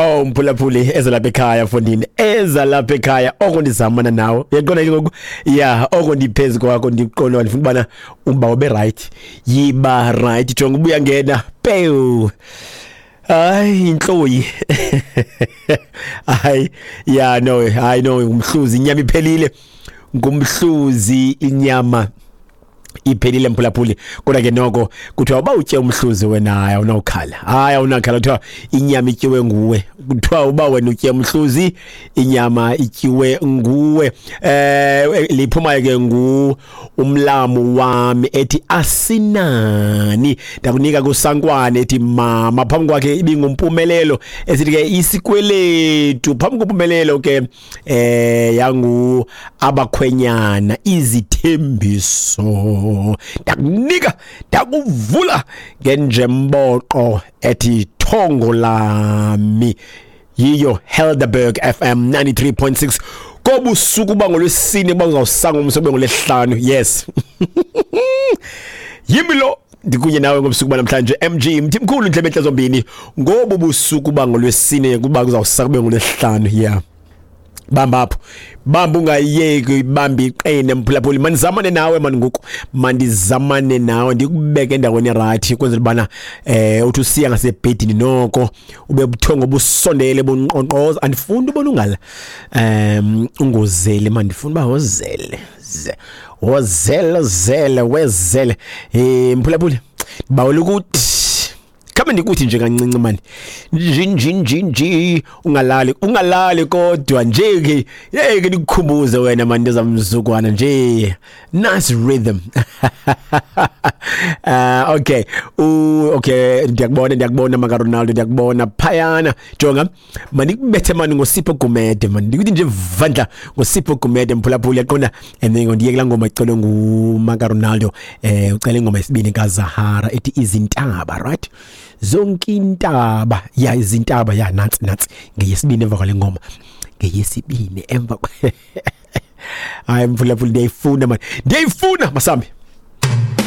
Oh mphulaphuli, eza lapha ekhaya fondini, eza lapha ekhaya oko ndizamana nawe, uyaqonda ke ngoku? Ya, oko ndiphezu kwakho, ndiqonda ndifuna ubana uba ube right, yiba right. Jonga ubuya ngena pew, hayi intloyi, hayi ya no, hayi no, ngumhluzi inyama iphelile, ngumhluzi inyama iphelile mphulaphuli. Kodwa ke noko kuthiwa uba utye umhluzi wena, hayi awunawukhala, hayi awunakhala. Kuthiwa inyama ityiwe nguwe, kuthiwa uba wena utye umhluzi inyama ityiwe nguwe. Liphumayo ke ngu umlamu wami ethi asinani, ndakunika kusankwane ethi mama, phambi kwakhe ibingumpumelelo esithi ke isikweletu, phambi kompumelelo ke yangu abakhwenyana izithembiso, ndakunika ndakuvula ngenjemboqo ethi thongo lami. Yiyo Helderberg FM 93.6 kobusuku bangolwesine, bangawusanga umsobe ngolwesihlanu. Yes, yimi lo ndikunye nawe ngobusuku banamhlanje, MG Mthimkhulu, ndlebe enhle zombini, ngobu busuku bangolwesine kuba kuzawusaka kube ngolwesihlanu. Yeah, bamba apho, bamba ungayeki, bamba iqine mphulaphuli. Mandizamane nawe mani ngoku, mandizamane nawe ndikubeke endaweni erayithi kwenzela ubana uthi usiya ngasebhedini noko ube buthongo busondele bunqonqoza. Andifuni ubona ungala ungozeli mani, ndifuna uba wozele ze wozele zele wezele. Mphulaphuli, ndibawela ukuthi khabe ndikuthi nje kancinci mani, nji nji nji nji, ungalali ungalali, kodwa nje ke hey ke ndikukhumbuze wena mani ndezamzukwana nje, nice rhythm. Okay, okay, ndiyakubona, ndiyakubona maka Ronaldo, ndiyakubona phayana. Jonga mandikubethe mani ngoSipho Gumede mani, ndikuthi nje vandla ngoSipho Gumede mphulaphuli, yaqonda. And then ndiye kulaa ngoma icelwe ngumaka Ronaldo, ucela ingoma yesibini kaZahara ethi izintaba, right? Zonke intaba ya izintaba ya, nantsi nantsi ngeyesibini emva kwale ngoma, ngeyesibini emva. Hayi mphulaphuli, ndiyayifuna mani, ndiyayifuna masambi.